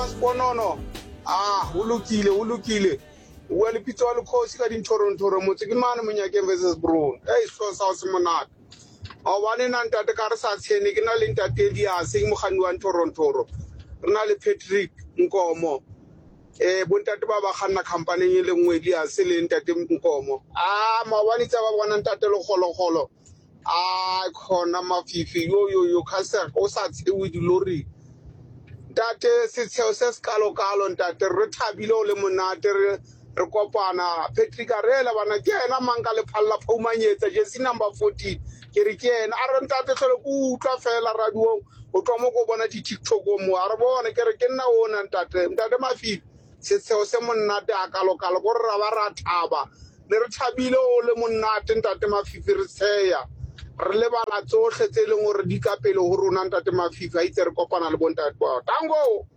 wa Seponono. Ah, ho lokile, ho lokile. O bua le Pitso wa Lekgosi ka dinthorong-thorong motse ke mane Monyakeng versus Bruni. Ei, sehlooho sa hao se monate. Maobane na ntate ka re sa tshene ke na le ntate Elias ke mokganni wa nthorong-thoro. Re na le Patrick Nkomo. Eh bontate ba ba kganna khampaneng e le nngwe Elias le ntate Nkomo. Ah maobane tsa ba bona ntate Lekgolokgolo. A khona mafifi yo yo yo kha o sa tshewe diloring. Ntate setsheo se se kalo-kalo ntate re thabile o le monate re re kopana Patrick a re ela bana ke ena mang ka lephalla phoumanyetsa jersey number 14 ke re ke ena a re ntate tlhole ke utlwa fela radiong o tloa mo ko bona di-tiktok mo a re bone ke re ke nna ona ntate ntate mafifi Setsheo se monate hakalokalo ko re ra ba ra thaba ne re thabile o le monate ntate Mafifi re tsheya re lebala tsohle tse leng hore di ka pele ho rona ntate Mafifi a itse re kopana le bontate bao tango.